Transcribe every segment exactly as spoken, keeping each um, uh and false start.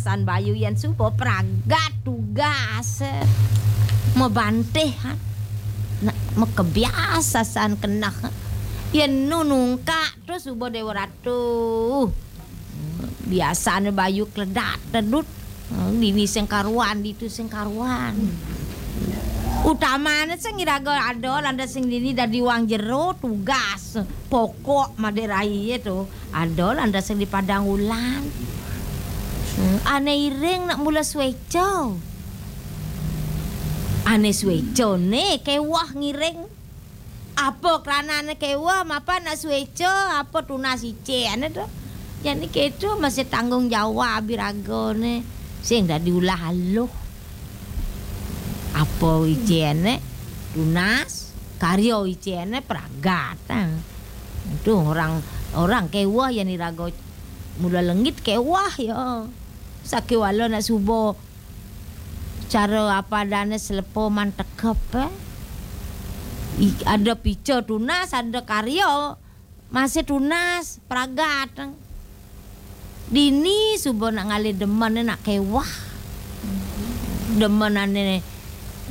San Bayu yan suba pragat tugas. Mabantih, ha. Nak makebiasa san keneh. Yan nu nungkak tu suba Dewa Ratu. Biasane Bayu kledat tedut. Dini sing karuan, ditu sing karuan. Utamane sing iraga ada lantas sing dini dadi wang jero tugas pokok Madé Rai tu. Ada lantas sing di Padang Ulan. Hmm, ane iring nak mula sueca. Ane sueca ne kewah ngiring. Apa kranane kewah, mapan nak sueca, apa tunas icene tu. Jani keto masih tanggung jawab iragane. Sing dadi ulah aluh. Apa icene tunas, karya icene pragat, ah. Tu orang, orang kewah yan iraga mula lengit kewah ya. Sakewala nak suba cara apa adane slepa mantekep, eh. I-, ada pica tunas, ada karya, masih tunas, pragat. Dini suba nak ngalih demen nak kewah. Demenane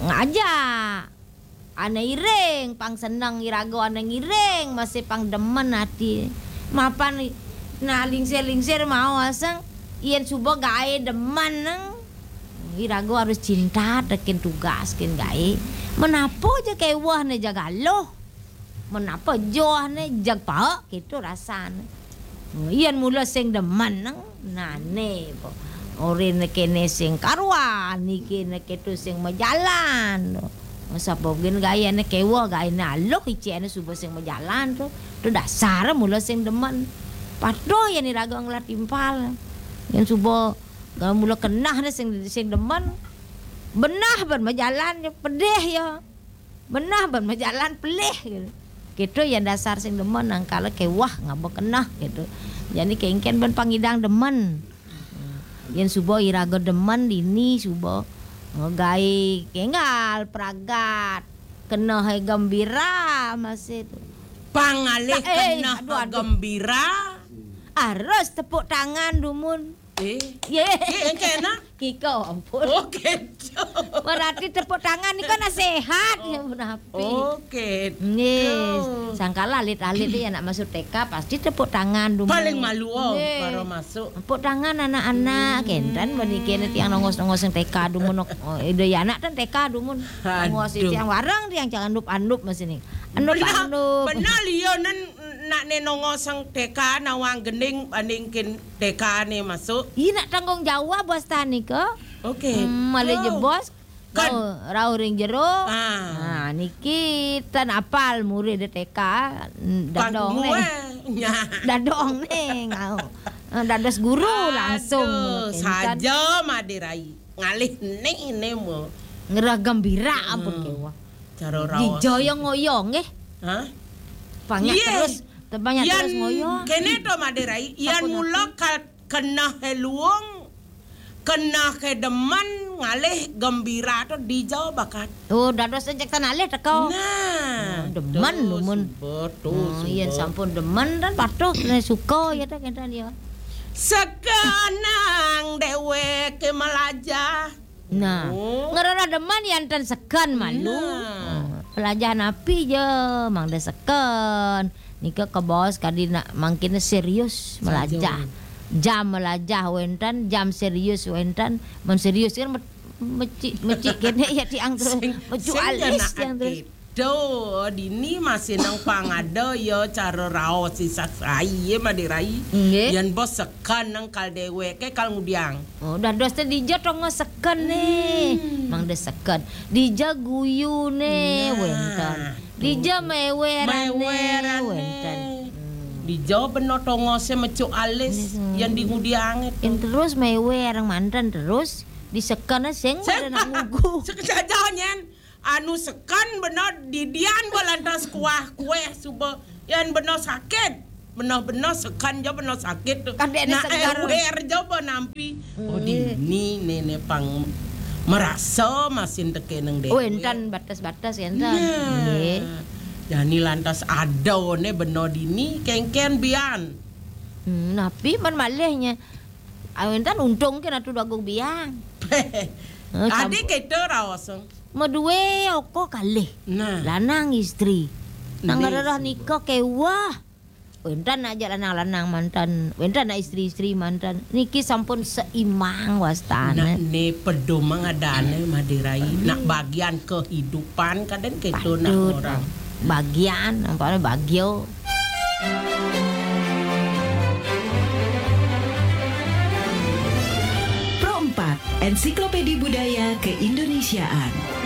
ngajak. Ane iring, pang seneng iraga ane ngiring, masih pang demen ati. Mapan i-, nah lingsir-lingsir mau aseng, yen suba gae demen neng. Iraga harus cinta tekin tugas kin gae. Menapa ja kewah ne jag aluh. Menapa joh ne jag paek, gitu rasane. Yen mula sing demen neng, nane po. Orine kene sing karuan, niki neke tu sing majalan. Sapa gen gaene kewah, gaene aluh, icene suba sing majalan tu. Tu dasar mula sing demen. Patuh yen iraga ngelah timpal. Yen suba mula kenah ne sing, sing demen. Benah ban majalan, pedih ya. Benah ban majalan pelih gitu. Gitu yan dasar sing demen, nangkala kewah ngaba keneh gitu. Jani kengken ban pangidang demen. Yen suba iraga demen dini suba, eh, gae kenggal pragat. Keneh gembira masih tu. Pangalih eh, keneh aduh, aduh. Gembira. Harus tepuk tangan dumun. Eh? Ye. Ye, engke enak? Kiko, ampun. Oh, keco. Berarti tepuk tangan ni kan nasihat. Oh. Ya, ampun, api. Oh, keco. Nggih. Sangkala alit-alit ni anak masuk T K pasti tepuk tangan dumun. Paling malu, oh, nggih. Baru masuk. Tepuk tangan anak-anak, hmm. Kenten bani kene tiang nongos-nongos yang T K dumun. Oh, ida ya anak kan T K dumun. Nongos aduh. Tiang warang tiang jangan andup-andup masih ni. Andup-andup. Benar, benar liyo nen nak ne nongos yang T K nawang gending bandingkin T K ne masuk. Ih, nak tanggung jawab bos tani ke? Oke. Hmm, malih je bos. Kan. Rau, rau ring jero. Ah. Nah, niki tan apal murid T K, mm, dadong ne. Nya. Dadong ne ngau. Ah, dados guru langsung. Aduh, saja Madé Rai. Ngalih ne, ne mo. Ngerah gembira ampun kewa. Cara raos. Dijaya ngoyo nggih. Hah? Banyak terus, banyak terus ngoyo. Kene to Madé Rai, yan mula ka-, keneh luung, keneh demen, ngalih gembira to dija bakat. Oh, dados cek tan alih teka. Nah, oh, demen lumun. Subur, to, oh, yen subur. Sampun demen dan patuh, suka ya ta kenten ya. Sekenang deweke melajah. Nah, oh. Ngerana demen yan ten seken malu. Nah. Oh, pelajahan api je, mangda seken. Nika kebaos kadi nak mangkin serius melajah. Jam melajah wenten, jam serius wenten. Mun serius kan me-, mecik, mecik kene ya tiang tu. Sing, mecu sing alis tiang tu. Duh, dini masih nang pangada ya cara raos sisah sai ya Madé Rai. Nggih. Yan bos seken nang kal deweke kal ngudiang. Oh, dados te dija tonga seken ne. Hmm. Mangda seken. Dija guyu ne wenten. Nah, dija mewerane wenten. Hmm. Dija bena tonga se mecu alis yan di ngudiange to. Yan terus mewer manten terus di seken sing pada nak ngugu. Seken saja nyen. Anu seken bena didian ba lantas kuah kueh suba. Yan bena sakit. Bena-bena seken ja bena sakit tu. Kadek ne nak segar. Ewer ja ba nampi. Oh, dini nene pang merasa masin teke neng dewek. Oh, entan batas-batas ya entan. Nah. Nggih. Jani lantas ada ne bena dini kengken bian. Hmm, napi man malihnya. Ayo, entan untung ke natu dagung biang. Eh, Adi sampu- kita raos. Madue oko kalih. Nah. Lanang istri. Nang Nih. Ngarerah nikah kewah. Wénten aja lanang-lanang manten, wénten istri-istri manten. Niki sampun seimbang wastane. Nak ne pedomang adane Madirai. Nak bagian kehidupan kadang gitu nak Patut. Orang. Bagian, nampaknya bagio. Pro empat, Ensiklopedi Budaya Keindonesiaan.